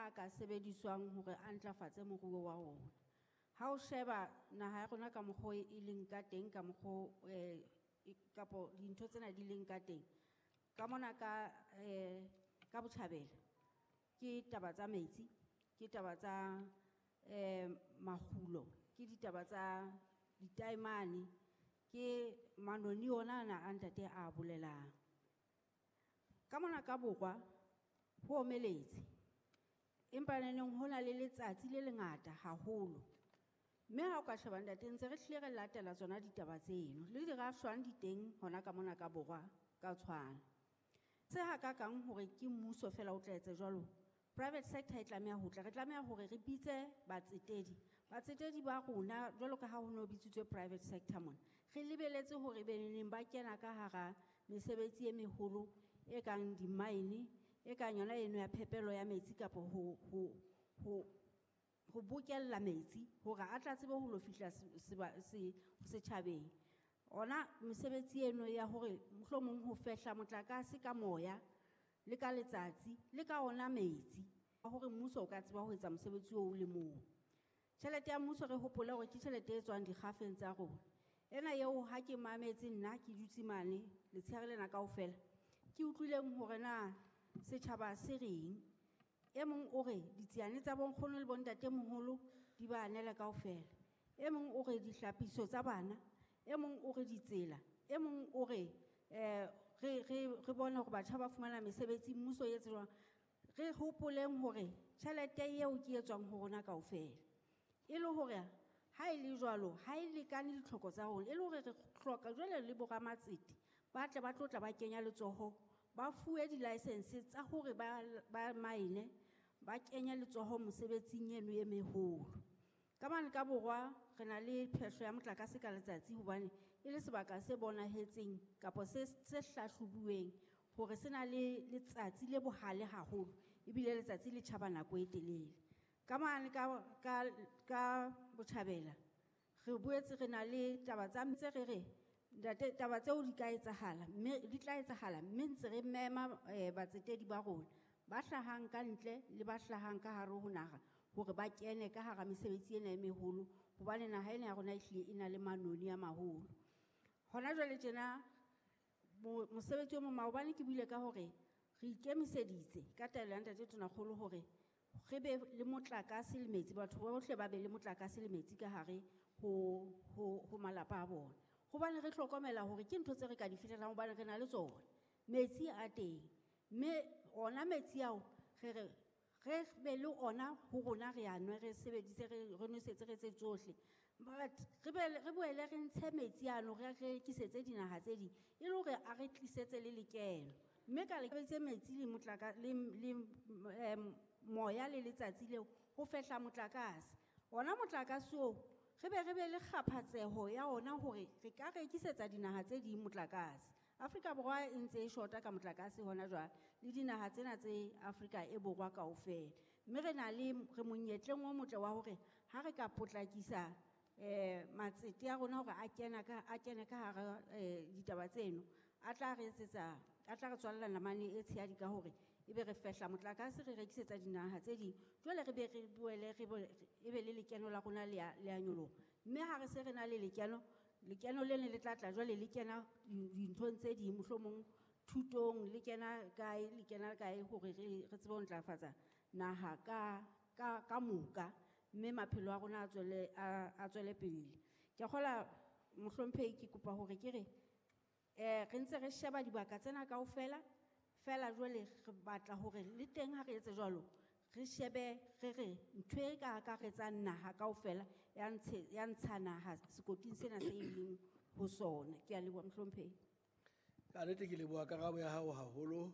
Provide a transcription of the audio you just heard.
a ka sebediswang hore a ntlafatse moruo wa rona. Ha o sheba naha ya rona ka mokgwa o e leng ka teng, ka mokgwa o, kapo dintho tsena di leng ka teng, ka mona ka botjhabela ke taba tsa metsi, ke taba tsa makgulo, ke ditaba tsa ditaemane, ke manoni ona ana a ntate a bolelang. Ka mona ka borwa ho omeletse, empa neneng ho na le letsatsi le lengata haholo. Mme ha o ka sheba ntate, ntse re hlile re latela tsona ditaba tseno le dirafshwang di teng hona ka mona ka borwa ka tshwana. Se hakakang hore ke mmuso fela o tla etsa jwalo, private sector e tlameha ho tla. Re tlameha hore re bitse batsetedi, batsetedi ba rona jwalo ka ha ho no bitsitswe private sector mona, re lebeletse hore be neneng ba kena ka hara mesebetsi e meholo e kang di-mine, e kang yona eno ya phepelo ya metsi kapo ho bokella metsi hore a tla tsebe ho lo fihla setjhabeng. Ona mesebetsi eno ya hore mohlomong ho fehla motlakase ka moya le ka letsatsi le ka ona metsi, hore mmuso o ka tseba ho etsa mosebetsi oo o le mong. Tjhelete ya mmuso re hopole hore ke tjhelete e tswang dikgafeng tsa rona. Ena eo ha ke mametse nna ke dutse mane letshehare lena kaofela, ke utlwileng hore na setjhaba se reng. E mong o re ditsiane tsa bonkgono le bontatemoholo di ba anele kaofela, e mong o re dihlapiso tsa bana, e mong o re ditsela, e mong o re re bone hore batjha ba fumana mesebetsi, mmuso e etse jwang. Re hopoleng hore tjhelete eo ke e tswang ho rona kaofela, e le hore ha e le jwalo ha e lekane ditlhoko tsa rona, e le hore re hloka jwale le boramatsete ba tle ba tlo tla ba kenya letsoho, ba fuwe di-license tsa hore ba mine, ba kenye letsoho mosebetsing eno e meholo. Ka mane ka borwa re na le phehlo ya motlakase ka letsatsi, hobane e le sebaka se bonahetseng kapa se hlahlobuweng hore se na le letsatsi le bohale haholo, ebile letsatsi le tjhaba nako e telele. Ka mane ka botjhabela re boetse re na le taba tsa ntse re re ntate, taba tseo di ka etsahala, mme di tla etsahala, mme ntse re mema batsetedi ba rona ba hlahang ka ntle le ba hlahang ka hare ho naha hore ba kene ka hara mesebetsi ena e meholo, hobane naha ena ya rona ehlile e na le manoni a maholo. Hona jwale tjena mosebetsi o mong, maobane ke buile ka hore re ikemiseditse ka taelo ya ntate Tonakgolo hore re be le motlakase le metsi, batho bohle ba be le motlakase le metsi ka hare ho malapa a bona, hobane re hlokomela hore ke ntho tse re ka di fihlelang, hobane re na le tsona. Metsi a teng, mme ona metsi ao re re re be le ona ho rona, re a nwe, re sebedise, re nwesetse, re etse tsohle. But re boele re ntshe metsi ano, re rekisetse dinaha tse ding, e le hore a re tlisetse le lekeno. Mme ka le metsi le motlaka, le moya le letsatsi leo ho fehla motlakase. Ona motlakase oo re be le kgaphatseho ya ona hore re ka rekisetsa dinaha tse ding motlakase. Afrika Borwa e ntse e shota ka motlakase hona jwale, le dinaha tsena tse Afrika e Borwa kaofela. Mme re na le, re monyetleng o motle wa hore ha re ka potlakisa matsete a rona hore a kene ka hara ditaba tseno, a tla re etsetsa, a tla re tswalla namane e tshehadi ka hore ebe re fehla motlakase, re rekisetsa dinaha tse ding. Jwale re be re boele re ebe le lekeno la rona le a nyoloha. Mme ha re se re na le lekeno, lekeno le ne le tla tla jwale le kena dinthong tse ding, mohlomong thutong, le kena kae, le kena kae, hore re tsebe ho ntlafatsa naha ka moka, mme maphelo a rona a tswele pele. Ke a kgolwa mohlomphehi, ke kopa hore ke re re ntse re sheba dibaka tsena kaofela, fela jwale re batla hore le teng ha re etse jwalo, re shebe re re ntho e ka akaretsang naha kaofela ya ntsha naha sekoting sena se e leng ho sona. Ke a leboha mohlomphehi. Ka nnete ke leboha karabo ya hao haholo.